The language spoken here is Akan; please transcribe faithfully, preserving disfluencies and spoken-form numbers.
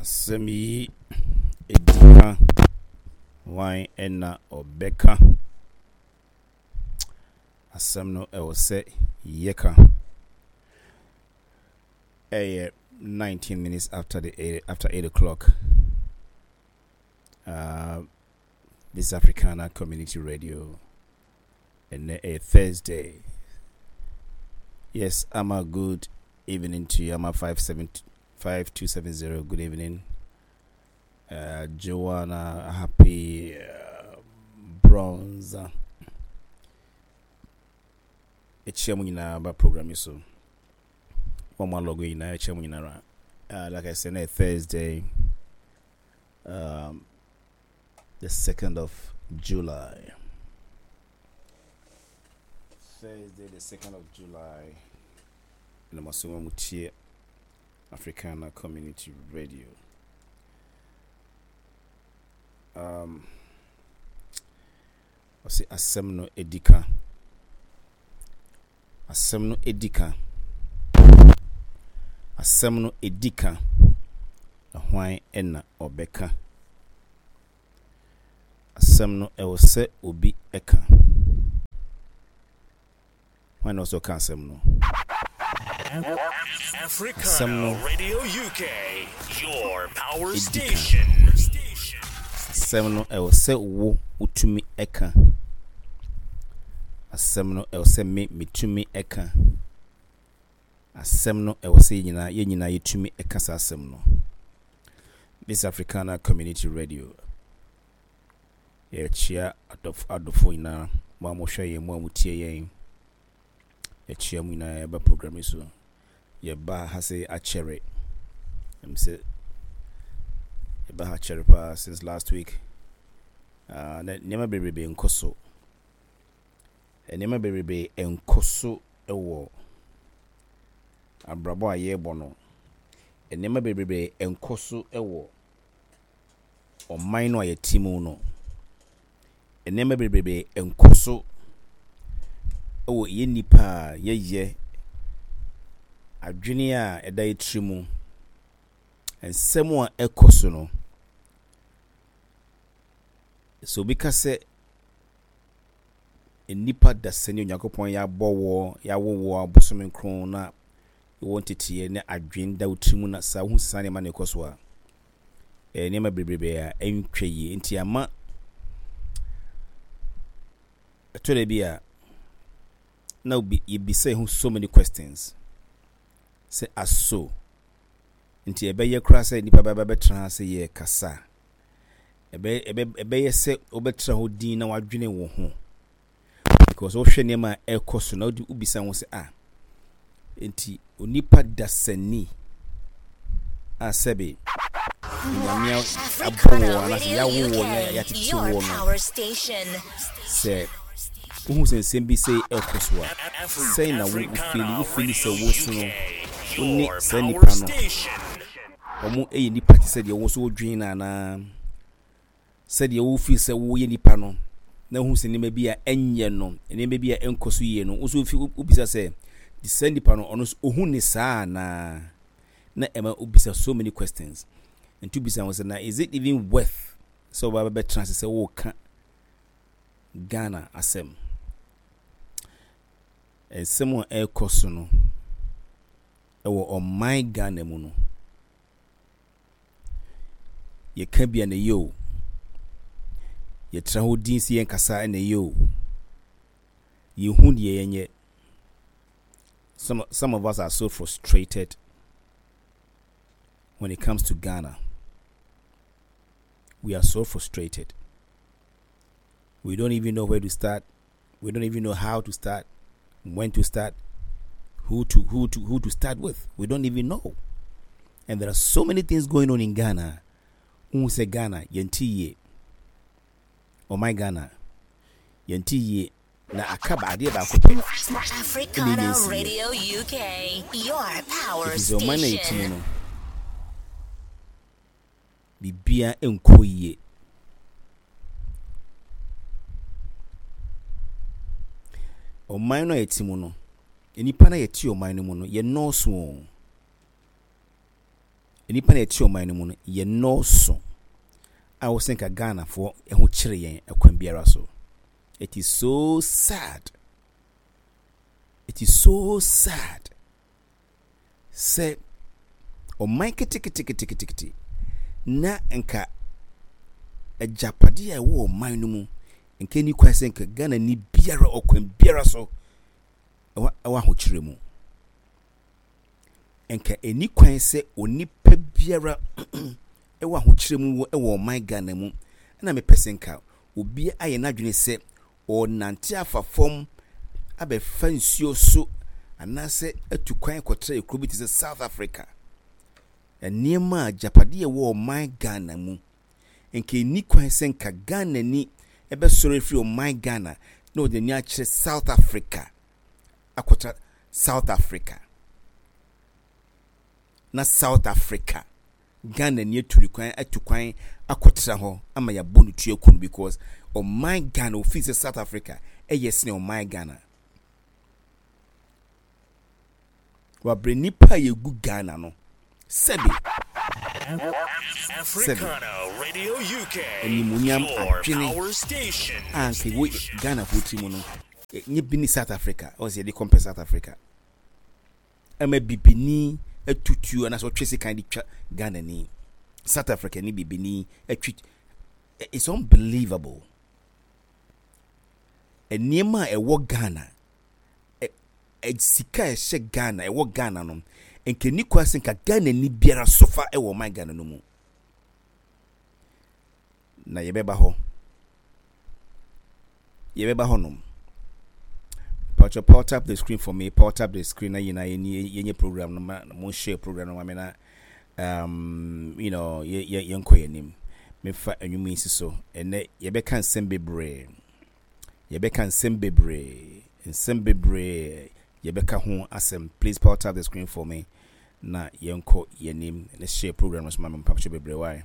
Asɛm yi edi ka, hwan na ɔbɛka? Asɛm no ɛwɔ sɛ yɛka. Ɛyɛ nineteen minutes after the eight, after eight o'clock. Uh, this is Africana Community Radio. And a Thursday. Yes, I'm a good evening to you. I'm a five seven five two seven zero. Good evening, uh, Joanna. Happy uh, Bronze. Ekyia mu nyinaa ba program yi so. Wɔn mu alɔgo nyinaa ekyia mu nyinaa. Uh, like I said, Thursday, um, the second of July. Thursday, the second of July. Na mo so mo tie Africana Community Radio. Um, ɔsi asɛm no edi ka. Asɛm no edi ka. Asɛm no edi ka. Na hwan na ɔbɛka? Asɛm no ɛwɔ sɛ obi ɛka. Hwan na ɔsɛ ɔka asɛm no? Africana Radio U K, your power station. Asɛm no ɛwɔ sɛ wo wotumi ɛka. Asɛm no ɛwɔ sɛ me metumi ɛka. Asɛm no ɛwɔ sɛ yɛn nyinaa yɛn nyinaa yɛtumi ɛka saa asɛm no. This Africana Community Radio. Yɛkyia adɔfo adɔfo nyinaa, mo a mohwɛ yɛn, mo a motie yɛn. Yɛkyia mu nyinaa yɛba program yi so. Yɛba ha sɛ akyɛre. Ɛm sɛ yɛba ha akyɛre paa since last week. Uh, na nneɛma bebrebe nkɔ so. Nneɛma bebrebe nkɔ so wɔ abrabɔ a yɛrebɔ no. Nneɛma bebrebe nkɔ so wɔ ɔman no a yɛte mu no. Nneɛma bebrebe nkɔ so wɔ yɛn nipa a yɛyɛ adwene a ɛda yɛn tiri mu. Nsɛm a ɛkɔ so no, sɛ obi ka sɛ nnipa dasani Onyankopɔn yɛabɔ wɔ yɛawo wɔ abosome nkron na wɔ nteteɛ ne adwene da wo tiri mu na saa wohu saa nneɛma na ɛkɔ so a, ɛyɛ nneɛma bebrebe a ɛntwa yie. Nti ama ɛtɔ da bi a na obi yɛbisa yɛn ho so many questions sɛ aso nti ɛbɛyɛ koraa sɛ nnipa bɛba bɛtena ha sɛ yɛ kasa, ɛbɛyɛ ɛbɛyɛ sɛ wobɛtena hɔ din na wadwene wo ho, because wohwɛ nneɛma a ɛkɔ so na wode wobisa ho sɛ, ah, nti onipa dasani a sɛbe Nyame abɔ wɔ anaasɛ yɛawo wɔ na yɛatete wɔ no, sɛ wohu sɛ nsɛm bi sɛ ɛkɔ so a, sɛn na wo wofeel? Wofeel sɛ wo so no wo ne saa nipa no ɔmo yɛ nipa te sɛ deɛ wo nso wodwen no, anaa sɛdeɛ wofeel sɛ woyɛ nipa no na wohu sɛ nneɛma bi a ɛnyɛ no, nneɛma bi a ɛnkɔ so yie no, wo nso wobisa sɛ saa nipa no ɔno nso ohu ne saa anaa? Na ɛma wobisa so many questions. Nti wobisa ho sɛ, na is it even worth sɛ wɔba bɛbɛtena ase sɛ wɔreka Ghana asɛm? Nsɛm a ɛrekɔ so no ɛwɔ ɔman Ghana mu no, yɛka bi a na ɛyɛ o, yɛtena hɔ din sɛ yɛnkasa na ɛyɛ o, yɛhu deɛ yɛnyɛ. some, some of us are so frustrated when it comes to Ghana. We are so frustrated. We don't even know where to start. We don't even know how to start, when to start, who to who to who to start with. We don't even know. And there are so many things going on in Ghana. Who say Ghana, yɛnte yie. Oh my Ghana. Yɛnte yie. Na aka ba adeɛ baako pɛ. Africana Radio U K, your power Ɛfiri sɛ ɔman na yɛti mu station. no, biribiara nkɔ yie. Ɔman no a yɛte mu no, nnipa no a yɛte ɔman no mu no, yɛnnɔɔso o. Nnipa na ɛte ɔman no mu no, yɛ nnɔɔso a wɔsɛ nka Ghanafoɔ ho kyerɛ yɛn ɛkwan biara so. It is so sad, it is so sad sɛ ɔman keteketeketekete na nka agyapadeɛ a ɛwɔ ɔman no mu, nka ni kwan sɛ nka Ghana ni biara ɔkwan biara so ɛwɔ ɛwɔ ahokyerɛ mu. Nka ɛni kwan sɛ onipa biara ɛwɔ ahokyerɛ mu wɔ ɛwɔ ɔman Ghana mu. Ɛna mepɛ sɛ nka obi ayɛ n'adwene sɛ ɔnante afa fam abɛfa nsuo so anaasɛ atu kwan kɔtena ekuro bi te sɛ South Africa. Nneɛma a agyapadeɛ ɛwɔ ɔman Ghana mu, nka ɛni kwan sɛ nka Ghana ni ɛbɛsɔre afiri ɔman Ghana na ɔde n'ani akyerɛ South Africa akɔtena South Africa, na South Africa Ghana ni atu kwan atu kwan akɔtena hɔ ama yɛabɔ no tua kunu because ɔman Ghana ofii sɛ South Africa ɛyɛ sene ɔman Ghana. Wabrɛ nipa a yɛgu Ghana no, sɛbi Africana Radio U K, animuonyam your adwene power station. A nka ɛwɔ Ghanafoɔ tiri mu no, nye bi ne South Africa. Ɔsɛ yɛde compare South Africa ama bibini atutuo anaasɛ ɔtwe sekan de twa Ghana ni, South Africa ni bibini atwi. It's unbelievable. Nneɛma a ɛwɔ Ghana, ɛ sika a ɛhyɛ Ghana, ɛwɔ Ghana no, nka ni kwan sɛ nka Ghana ni biara sofa ɛwɔ ɔman Ghana no mu. Na yɛbɛba hɔ, yɛbɛba hɔ nom. Patro, power tap the screen for me. Power tap the screen na yɛn yɛn yɛnyɛ program no ma mo share program no ma me na um you know yɛ yɛ yɛnkɔ yɛn anim. Mefa enwom yi si so. Ɛnɛ yɛbɛka nsɛm bebree, yɛbɛka nsɛm bebree, nsɛm bebree yɛbɛka ho asɛm. Please power tap the screen for me na yɛnkɔ yɛn anim. Let's share program no so ma me, mpatro bebree wae.